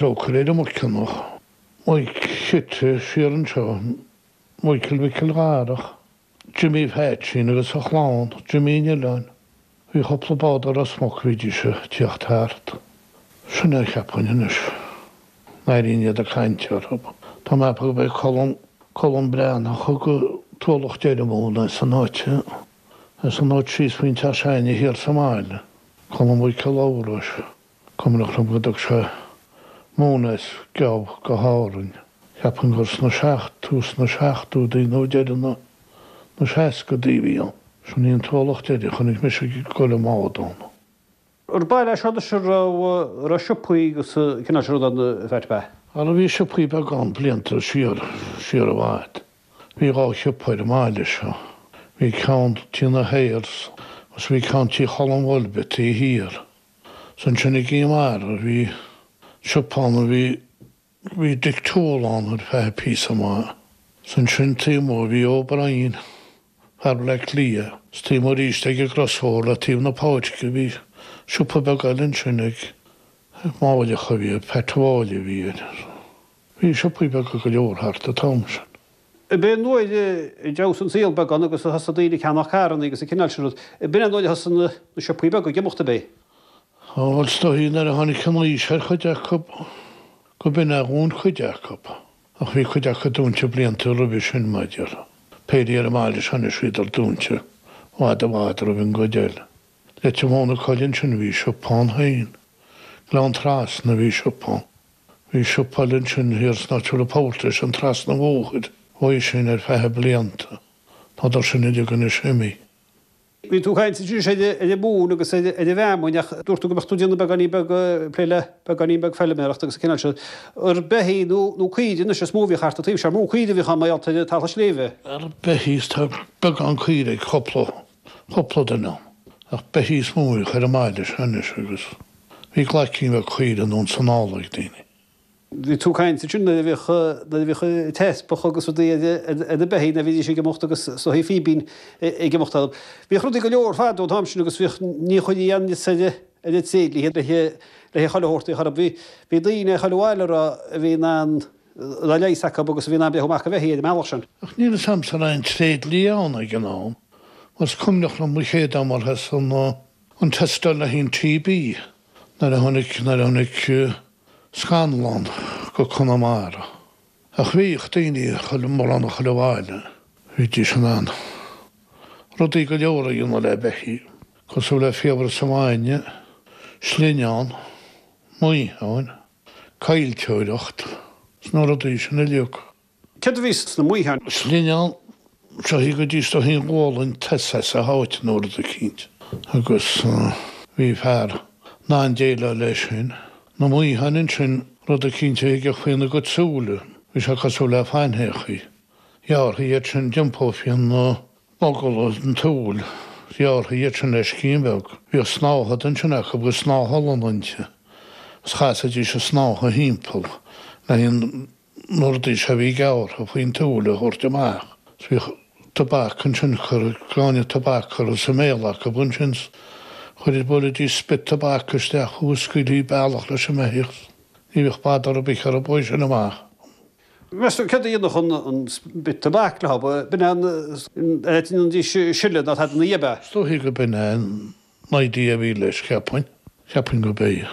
Trócaire ar an Muirceannach, Mike Chite siar anseo, Michael Mhicil Dharach, Jimmy Phaitsín agus a chlann, Jimmy an Oileáin. Bhí cúpla bád ó Ros Muc bhídís ag tíocht thart. Sin é cheapfainn anois. N-airínn iad ag caint orthu. Tá mé ag ceapadh gurb é Colm, Colm Breathnach a thug an t-ualach deiridh móna as an áit, as an áit síos faoin teach s'againne thiar sa mbaile. Colm Mhic Labhráis. Cuimhneach liom go dtug sé móin as Geábh go hÁrainn. Cheapfainn gur sna seacht, tús na seachtóidí nó deireadh na na seascadaí a bhí ann. Sin í an t-ualach deiridh a chonaic mise ag dul i mbád ann. Ar baile é seo anois a raibh raibh siopaí agus an cineál sin rud ann a Pheait ab ea? Ara bhí siopaí beaga ann blianta siar, siar i bhfad. Bhí dhá shiopa ar an mbaile seo. Bhí ceann tí na Hayers agus bhí ceann tí Cholm Bhoilbe taobh thiar. 'S ansin i gCill Mara bhí siopa ann a bhí, bhí Dick Toole ann ar feadh píosa maith. 'S ansin taobh amuigh bhí O'Brien, fear Bhaile Átha Cliath. 'S taobh amuigh arís ag an gcrosbhóthar le taobh na páirce bhí siopa beag eile ansin ag Máilleach a bhí air, Pat Mháille a bhí air. Bhí siopaí beaga go leor thart an t-am sin. Ab é nuair a d'fheabhsaigh an saol beagán agus a thosaigh daoine ag ceannach carranna agus an cineál sin rud, b'in é nuair a thosaigh na siopaí beaga ag imeacht, ab é? Á, bhuel, is dóichí nuair a tháinig an aois ar chuid acu go b'in é a dhún cuid acu. Ach bhí cuid acu dúnta blianta roimhe sin, mar a déarfá. Péirí ar an mbaile seo anois bhíodar dúnta i bhfad i bhfad roimh an gcuid eile. Leitir Móna Coille ansin bhí siopa ann féin. Gleann Trasna bhí siopa ann. Bhí siopa eile ansin thiar san áit a bhfuil an Power Station trasna an bhóthair uaidh sin ar feadh blianta. Tádar sin uilig anois imithe. Bhí tú ag caint ansin ar an mhóin agus ar an bhfeamainn ach dúirt tú go mbeadh tú ag déanamh beagáinín beag, plé le beagáinín beag feilméarachta agus an cineál sin. Ar beithígh nó nó caoirigh anois is mó a bhíodh thart an taobh seo, mó caoirigh a bhíodh ann mar gheall ar talamh sléibhe. Ar beithígh is tá beagán caoirigh ag cúpla, cúpla duine ann. Ach beithígh is mó a bhíodh ar an mbaile seo anois agus Bhí glaicín bheag caoire anonn 's anall ag daoine. Bhí tú ag caint ansin nuair a bhíodh, nuair a bhíodh teaspach agus rudaí ar ar na beithígh nuair a bhídís ag imeacht agus is dóichí fíbín ag imeacht orthu. Bhíodh rudaí go leor fadó an t-am sin agus bhíodh, ní chuirtí aon fhios ar ar na tréidliaithe le le chuile shórt a chur Bhí, bhí daoine chuile bhaile a raibh, a bhí in ann, a raibh leigheas acu agus a bhí in ann breith amach ar bheithígh ar an mbealach sin. Ach níl fhios a'msa an raibh aon tréidlia ann ag an am, mar is cuimhneach liom mo chéad am ar an, An tástáil le haghaidh an TB nuair a tháinig nuair a tháinig scannalán go Conamara. Ach bhíodh daoine chuile mórán a chuile bhaile bhídís in ann rudaí go leor a dhéanamh le beithígh, cosúil le fiabhras an bhainne, slinneán, maotháin, caillteoireacht, 's na rudaí sin uilig. Céard a bhí sna maotháin? Slinneán, seo í go dtí is do thín ghualainn tusa as a háit nó rud eicínt. Agus bhí fear in ann déileáil leis sin. Na maotháin ansin, rud eicínt a thigeadh faoina gcuid súile, bhí sé cosúil le faintheachaí. Ghearrthaí iad sin, d'iompófaí an mogall an tsúil, ghearrthaí iad sin le scian bheag. Bhíodh snáthaid ansin acu agus snáth olann inti, agus chasaidís an snáithe thimpeall le haghaidh an na rudaí seo a bhí gearrtha faoin tsúil a thabhairt amach. Bhíodh tobac ansin, cuir gráinne tobac curtha sa mbéal acu ansin, chuir, bhuailidís spit tobac isteach fúthu, scaoiltí bealach leis an mbeithíoch. Ní bhíodh bother ar bith orthu é sin amach. Meas tú céard a dhéanfadh an spit tobac leo? B'in é an áit a ndéanaidís sileadh ná tada ina dhiaidh, ab ea? Is dóichí go b'in é an idea a bhí leis, cheapfainn. Cheapfainn go b'é.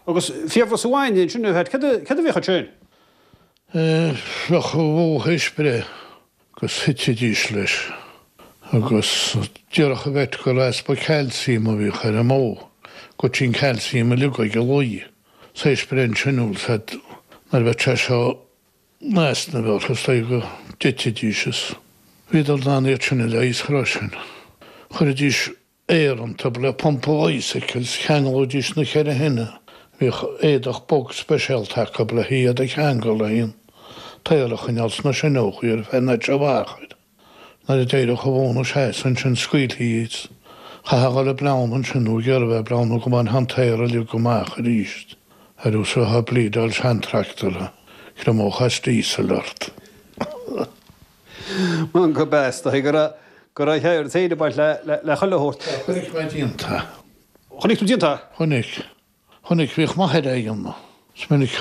Agus fiabhras an bhainne ansin, a Pheait, céard a bhíodh ansin? Bheadh an bhó théis breith agus thitidís leis agus déarfadh an vet gur easpa calcium a bhíodh ar an mbó, goití an calcium uilig ag an luí. Théis breith ansin, bhfuil 's a'd, nuair a bheadh sé seo in easnamh orthu, is dóigh go dtitidís is bhíodar in ann iad sin a leigheas freisin. Chuiridís aer iontu le pumpa bicycle 's cheanglóidís na cheithre thine. Bhíodh éadach bog speisialta acu le hiad a cheangal le an t-aer a choinneáil sna sineochaí ar feadh na mbeachair. Nuair a d'éireodh an bhó ina seasamh ansin scaoiltí iad. Chaithfeá a dhul ag bleán ansin nó ag iarraidh a bheith ag bleán nó go mbainfeá an t-aer uilig amach arís. Ar nós a bheifeá ag bleedáil seantractor, chriomódh as diesel ort. Mar go b'ea, is dóigh go raibh, go raibh a cheird féin ag baint le, le, le chuile shórt. Chonaic mé déanta. Chonaic tú déanta? Chonaic. Chonaic, bhíodh m'athair á dhéanamh. Is minic.